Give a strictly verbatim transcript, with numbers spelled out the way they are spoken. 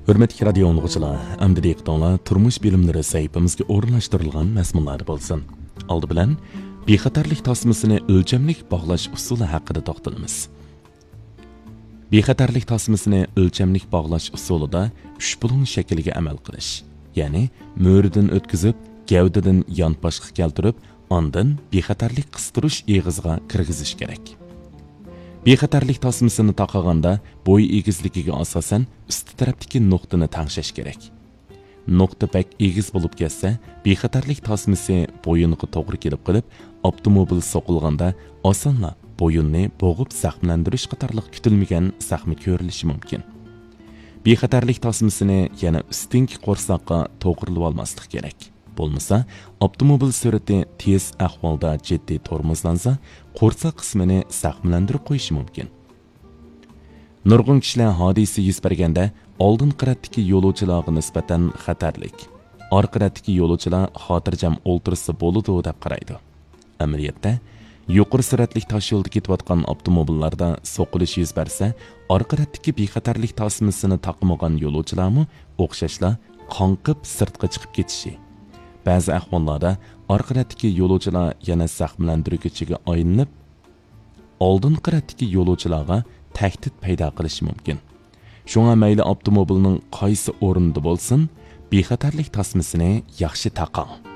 ھۆرمەتلىك رادىيو ئاڭلىغۇچىلار، ئەمدى دىققىتىڭلار تۇرمۇش بىلىملىرى سەھىپىمىزگە ئورۇنلاشتۇرۇلغان مەزمۇنلاردا بولسۇن. ئالدى بىلەن، بىخەتەرلىك تاسمىسىنى ئۆلچەملىك باغلاش ئۇسۇلى ھەققىدە توختىلىمىز. بىخەتەرلىك تاسمىسىنى ئۆلچەملىك باغلاش ئۇسۇلىدا ئۈچ بۇلۇڭ شەكلىگە ئەمەل قىلىش، يەنى مۈرىدىن ئۆتكۈزۈپ، گەۋدىدىن يانپاشقا كەلتۈرۈپ، ئاندىن بىخەتەرلىك قىستۇرۇش ئېغىزىغا كىرگۈزۈش كېرەك. بىخەتەرلىك تاسمىسىنى تاقىغاندا، بوي ئېگىزلىكىگە ئاساسەن ئۈستى تەرەپتىكى نۇقتىنى تەڭشەش كېرەك. نۇقتا بەك ئېگىز بولۇپ كەتسە، بىخەتەرلىك تاسمىسى بويۇنغا توغرا كېلىپ قېلىپ، ئاپتوموبىل سوقۇلغاندا ئاسانلا بويۇننى بوغۇپ زەخىملەندۈرۈش قاتارلىق كۈتۈلمىگەن زەخمە كۆرۈلۈشى مۇمكىن. بىخەتەرلىك تاسمىسىنى يەنە ئۈستۈنكى قورساققا توغرىلىۋالماسلىق كېرەك. بولمىسا، ئاپتوموبىل سۈرئىتى تېز ئەھۋالدا جىددىي تورمۇزلانسا، قورساق قىسمىنى زەخىملەندۈرۈپ قويۇشى مۇمكىن. نۇرغۇن كىشىلەر ھادىسە يۈز بەرگەندە ئالدىنقى رەتتىكى يولۇچىلارغا نىسبەتەن خەتەرلىك، ئارقا رەتتىكى يولۇچىلار خاتىرجەم ئولتۇرسا بولىدۇ دەپ قارايدۇ. ئەمەلىيەتتە، يۇقىرى سۈرئەتلىك تاشيولدا كېتىۋاتقان ئاپتوموبىللاردا سوقۇلۇش يۈز بەرسە، ئارقا رەتتىكى بىخەتەرلىك تاسمىسىنى تاقىمىغان يولۇچىلارمۇ ئوخشاشلا قاڭقىپ سىرتقا چىقىپ كېتىشى، بەزى ئەھۋاللاردا ئارقا رەتتىكى يولۇچىلار يەنە زەخىملەندۈرگۈچىگە ئايلىنىپ، ئالدىنقى رەتتىكى يولۇچىلارغا تەھدىت پەيدا قىلىشى مۇمكىن. شۇڭا مەيلى ئاپتوموبىلنىڭ قايسى ئورنىدا بولسۇن، بىخەتەرلىك تاسمىسىنى ياخشى تاقاڭ.